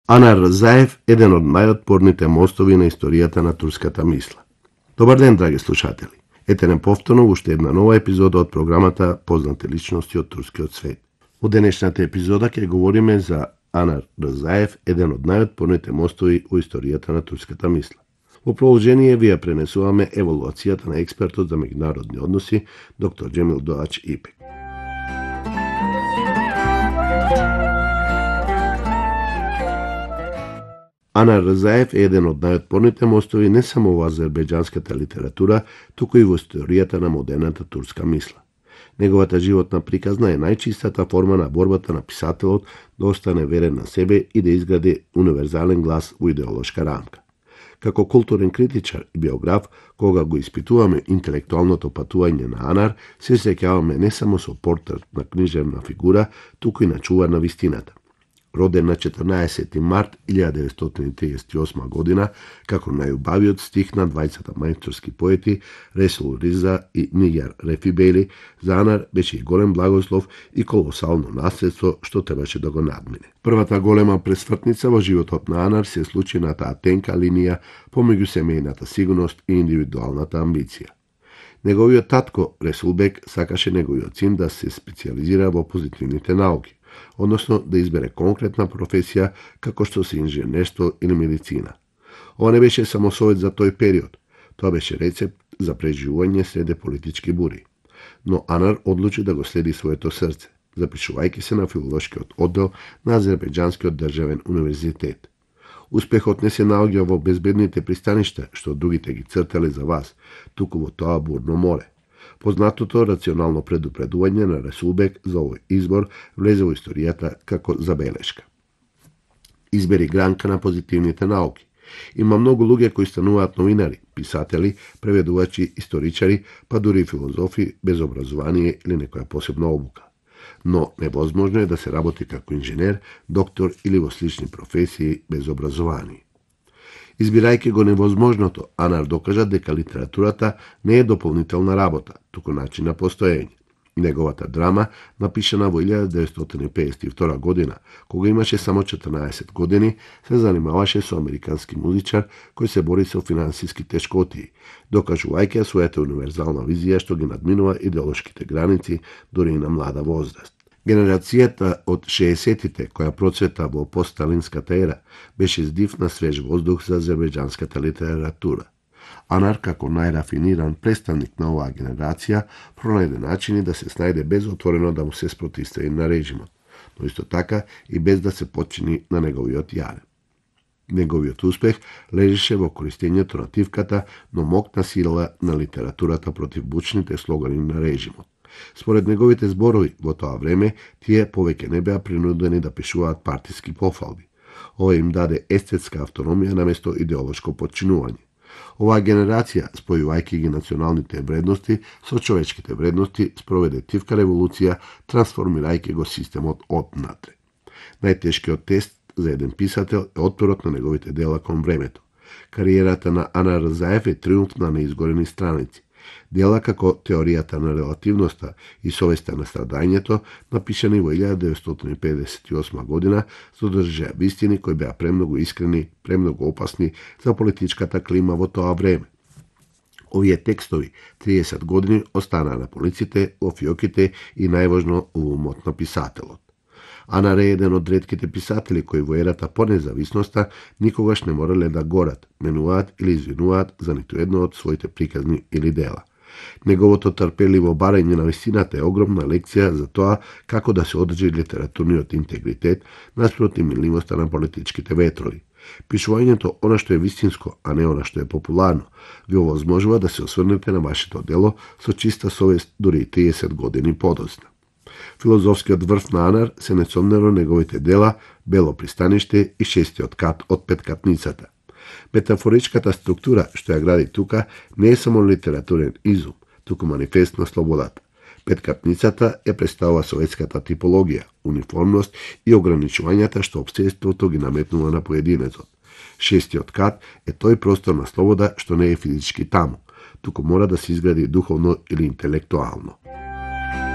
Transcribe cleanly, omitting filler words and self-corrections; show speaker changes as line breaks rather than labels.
Анар Рзаев, еден од најотпорните мостови на историјата на турската мисла. Добар ден, драги слушатели. Ете не повторно уште една нова епизода од програмата Познати личности од турскиот свет. Во денешната епизода ќе говориме за Анар Рзаев, еден од најотпорните мостови во историјата на турската мисла. Во продолжение ви ја пренесуваме евалуацијата на експертот за меѓународни односи, доктор Джемил Доач Ипек. Анар Рзаев е еден од најотпорните мостови не само во азербејџанската литература, туку и во историјата на модерната турска мисла. Неговата животна приказна е најчистата форма на борбата на писателот да остане верен на себе и да изгради универзален глас во идеолошка рамка. Како културен критичар и биограф, кога го испитуваме интелектуалното патување на Анар, се сеќаваме не само со портрет на книжевна фигура, туку и на чувар на вистината. Роден на 14. март 1938 година, како најубавиот стих на двајцата мајсторски поети Ресул Риза и Нигар Рефибели, за Анар беше и голем благослов и колосално наследство што требаше да го надмине. Првата голема пресвртница во животот на Анар се случи на таа тенка линија помеѓу семејната сигурност и индивидуалната амбиција. Неговиот татко Ресулбек сакаше неговиот син да се специализира во позитивните науки, односно да избере конкретна професија како што се инженерство или медицина. Ова не беше само совет за тој период, тоа беше рецепт за преживување среде политички бури. Но Анар одлучи да го следи своето срце, запишувајќи се на филолошкиот оддел на Азербејџанскиот државен универзитет. Успехот не се наоѓа во безбедните пристаништа, што другите ги цртале за вас, туку во тоа бурно море. Познатото рационално предупредување на Ресулбек за овој избор влезе во историјата како забелешка. Избери гранка на позитивните науки. Има многу луѓе кои стануваат новинари, писатели, преведувачи, историчари, па дури филозофи без образование или некоја посебна обука. Но невозможно е да се работи како инженер, доктор или во слични професии без образование. Избирајќи го невозможното, Анар докажа дека литературата не е дополнителна работа, туку начин на постоење. Неговата драма, напишана во 1952 година, кога имаше само 14 години, се занимаваше со американски музичар кој се бори со финансиски тешкотии, докажувајќи својата универзална визија што ги надминува идеолошките граници дури и на млада возраст. Генерацијата од 60-тите, која процвета во постсталинската ера, беше здив на свеж воздух за азербејџанската литература. Анар, како најрафиниран представник на оваа генерација, пронајде начини да се снајде без отворено да му се спротивстави на режимот, но исто така и без да се подчини на неговиот јарем. Неговиот успех лежеше во користењето на тивката, но моќна сила на литературата против бучните слогани на режимот. Според неговите зборови во тоа време, тие повеќе не беа принудени да пишуваат партиски пофалби. Ова им даде естетска автономија наместо идеолошко подчинување. Оваа генерација, спојувајќи ги националните вредности со човечките вредности, спроведе тивка револуција, трансформирајќи го системот однатре. Најтешкиот тест за еден писател е отпорот на неговите дела кон времето. Кариерата на Анар Рзаев е триумф на неизгорени страници. Дела како Теоријата на релативноста и Совеста на страдањето, напишани во 1958 година, содржаа вистини кои беа премногу искрени, премногу опасни за политичката клима во тоа време. Овие текстови 30 години останаа на полиците, во фиоките и најважно во умот на писателот. Анар е еден од ретките писатели кои во ерата по независноста никогаш не морале да горат, менуваат или извинуваат за ниту едно од своите приказни или дела. Неговото трпеливо барање на вистината е огромна лекција за тоа како да се одржи литературниот интегритет наспроти милливоста на политичките ветрови. Пишувањето она што е вистинско, а не она што е популарно, ви овозможува да се осврнете на вашето дело со чиста совест дури и 30 години подоцна. Филозофскиот врв на Анар се несомнено неговите дела Бело пристаниште и Шестиот кат од Петкатницата. Метафоричката структура што ја гради тука не е само литературен изум, туку манифест на слободата. Петкатницата ја представува советската типологија, униформност и ограничувањата што општеството ги наметнува на поединецот. Шестиот кат е тој простор на слобода што не е физички таму, туку мора да се изгради духовно или интелектуално.